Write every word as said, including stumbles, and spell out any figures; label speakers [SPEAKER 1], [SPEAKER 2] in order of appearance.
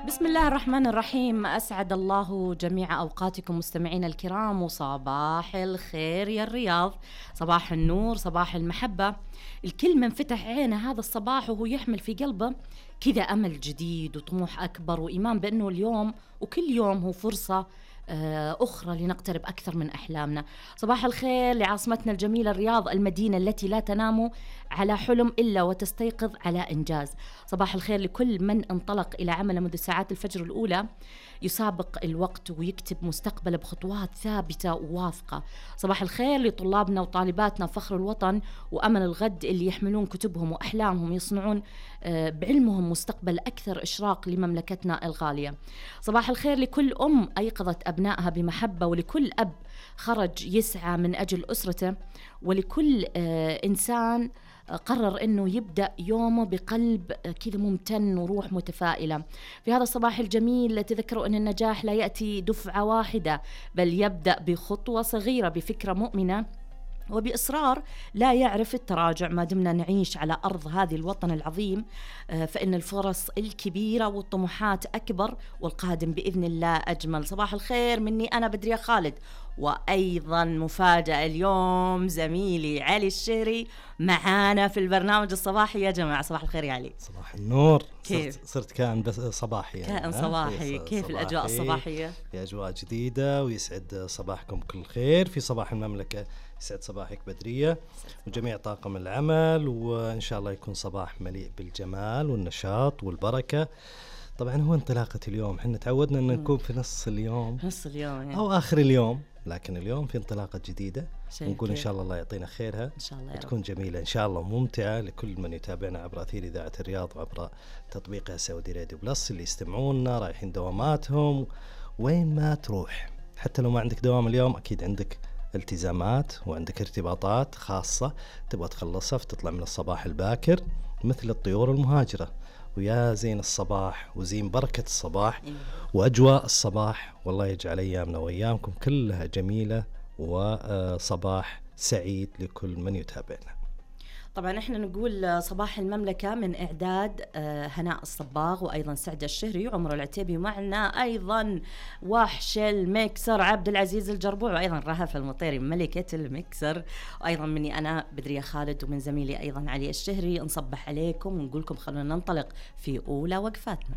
[SPEAKER 1] بسم الله الرحمن الرحيم. أسعد الله جميع أوقاتكم مستمعين الكرام، وصباح الخير يا الرياض، صباح النور، صباح المحبة. الكل من فتح عينه هذا الصباح وهو يحمل في قلبه كذا أمل جديد وطموح أكبر وإيمان بأنه اليوم وكل يوم هو فرصة أخرى لنقترب أكثر من أحلامنا. صباح الخير لعاصمتنا الجميلة الرياض، المدينة التي لا تنام على حلم إلا وتستيقظ على إنجاز. صباح الخير لكل من انطلق إلى عمله منذ ساعات الفجر الأولى يسابق الوقت ويكتب مستقبله بخطوات ثابتة وواثقة. صباح الخير لطلابنا وطالباتنا فخر الوطن وأمل الغد، اللي يحملون كتبهم وأحلامهم يصنعون بعلمهم مستقبل أكثر إشراق لمملكتنا الغالية. صباح الخير لكل أم أيقظت أبنائها بمحبة، ولكل أب خرج يسعى من أجل أسرته، ولكل إنسان قرر أنه يبدأ يومه بقلب كذا ممتن وروح متفائلة. في هذا الصباح الجميل تذكروا أن النجاح لا يأتي دفعة واحدة، بل يبدأ بخطوة صغيرة، بفكرة مؤمنة وبإصرار لا يعرف التراجع. ما دمنا نعيش على أرض هذه الوطن العظيم فإن الفرص الكبيرة والطموحات أكبر، والقادم بإذن الله أجمل. صباح الخير مني أنا بدرية خالد، وأيضا مفاجأة اليوم زميلي علي الشهري معانا في البرنامج الصباحي. يا جماعة صباح الخير يا علي.
[SPEAKER 2] صباح النور.
[SPEAKER 1] كيف؟
[SPEAKER 2] صرت, صرت كائن بس صباحي يعني.
[SPEAKER 1] كائن صباحي. كيف صباحي. الأجواء الصباحية؟
[SPEAKER 2] في أجواء جديدة ويسعد صباحكم كل خير في صباح المملكة. يسعد صباحك بدرية وجميع طاقم العمل، وإن شاء الله يكون صباح مليء بالجمال والنشاط والبركة. طبعا هو انطلاقة اليوم، احنا تعودنا أن نكون في نص اليوم
[SPEAKER 1] نص اليوم يعني.
[SPEAKER 2] أو آخر اليوم، لكن اليوم في انطلاقة جديدة، ونقول إن
[SPEAKER 1] كيف.
[SPEAKER 2] شاء الله الله يعطينا خيرها
[SPEAKER 1] إن شاء الله
[SPEAKER 2] وتكون جميلة إن شاء الله وممتعة لكل من يتابعنا عبر أثير إذاعة الرياض وعبر تطبيقها سعودي راديو بلس، اللي يستمعونا رايحين دواماتهم وين ما تروح. حتى لو ما عندك دوام اليوم أكيد عندك التزامات وعندك ارتباطات خاصة تبغى تخلصها، فتطلع من الصباح الباكر مثل الطيور المهاجرة. ويا زين الصباح وزين بركة الصباح وأجواء الصباح، والله يجعل أيامنا وأيامكم كلها جميلة وصباح سعيد لكل من يتابعنا.
[SPEAKER 1] طبعا احنا نقول صباح المملكة من إعداد هناء الصباغ وأيضا سعد الشهري وعمر العتيبي، معنا أيضا وحش الميكسر عبد العزيز الجربوع، وأيضا رهف المطيري ملكة الميكسر، وأيضا مني أنا بدرية خالد، ومن زميلي أيضا علي الشهري. نصبح عليكم ونقولكم خلونا ننطلق في أولى وقفاتنا.